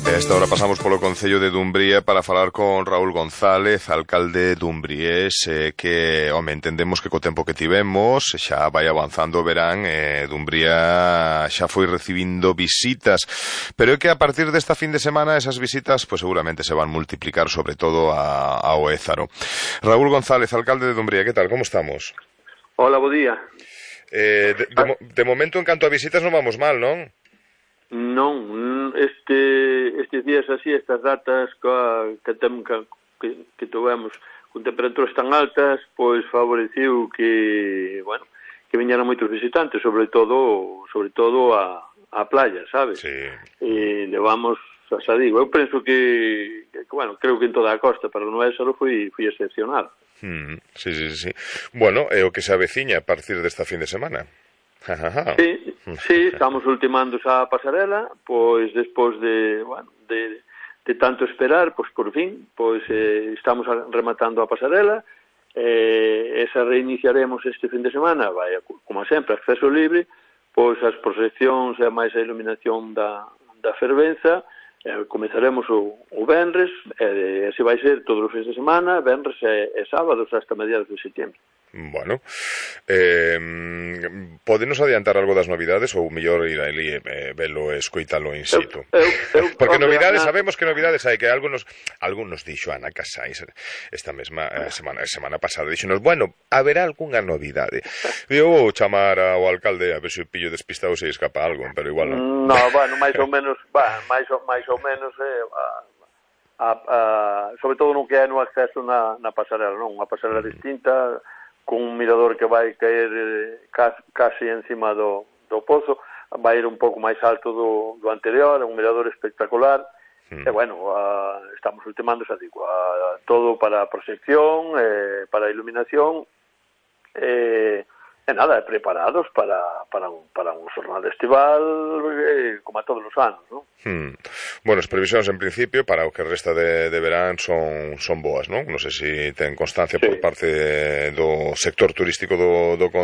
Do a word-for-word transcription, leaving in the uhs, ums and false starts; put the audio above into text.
A esta hora pasamos polo Concello de Dumbría para falar con Raúl González, alcalde dumbriés, eh, que, home, entendemos que co tempo que tivemos xa vai avanzando o verán, eh, Dumbría xa foi recibindo visitas, pero é que a partir desta fin de semana esas visitas pues seguramente se van multiplicar, sobre todo a, ao Ézaro. Raúl González, alcalde de Dumbría, que tal, como estamos? Hola, bo día. Eh, de, de, de momento, en canto a visitas, non vamos mal, non? Non, este, estes días así, estas datas que, que, tem, que, que tivemos con temperaturas tan altas, pois favoreciu que, bueno, que viñeran moitos visitantes, sobre todo sobre todo a, a playa, sabes? Sí. E levamos, xa digo, eu penso que, que, bueno, creo que en toda a costa, pero no Ézaro foi, foi excepcional. Mm, sí, sí, sí. Bueno, é o que se aveciña a partir desta fin de semana. Sí, sí, estamos ultimando a pasarela, pois despois de, bueno, de, de tanto esperar, pois por fin, pois eh, estamos rematando a pasarela, eh, esa reiniciaremos este fin de semana, vai, como sempre, acceso libre, pois as proxeccións e máis a iluminación da, da fervenza, eh, comezaremos o, o venres, e eh, se vai ser todos os fins de semana, venres e, e sábados hasta mediados de setembro. Bueno, eh, podenos adiantar algo das novidades ou mellor ir a ali e eh, velo e escoitalo in situ? Eu, eu, eu, Porque hombre, novidades, na... sabemos que novidades hai, que algunos algunos dixo Ana Casais esta mesma eh, semana semana pasada, dixonos, bueno, haberá algunha novidade. Eu vou chamar ao alcalde a ver se pillo despistado se escapa algo, pero igual non. No, bueno, máis ou menos, va, máis ou, máis ou menos eh, a, a, a, sobre todo no que é no acceso na, na pasarela, non? Unha pasarela mm. distinta, con un mirador que vai caer eh, casi, casi encima do, do pozo, vai ir un pouco máis alto do, do anterior, un mirador espectacular, mm. e bueno, a, estamos ultimando, xa digo, a, todo para a proxección, eh, para a iluminación, e, e nada, preparados para, para, un, para un xornal estival eh, como a todos os anos, non? Hmm. Bueno, as previsións en principio para o que resta de, de verán son, son boas, non? Non sei se ten constancia sí. por parte do sector turístico do, do Concello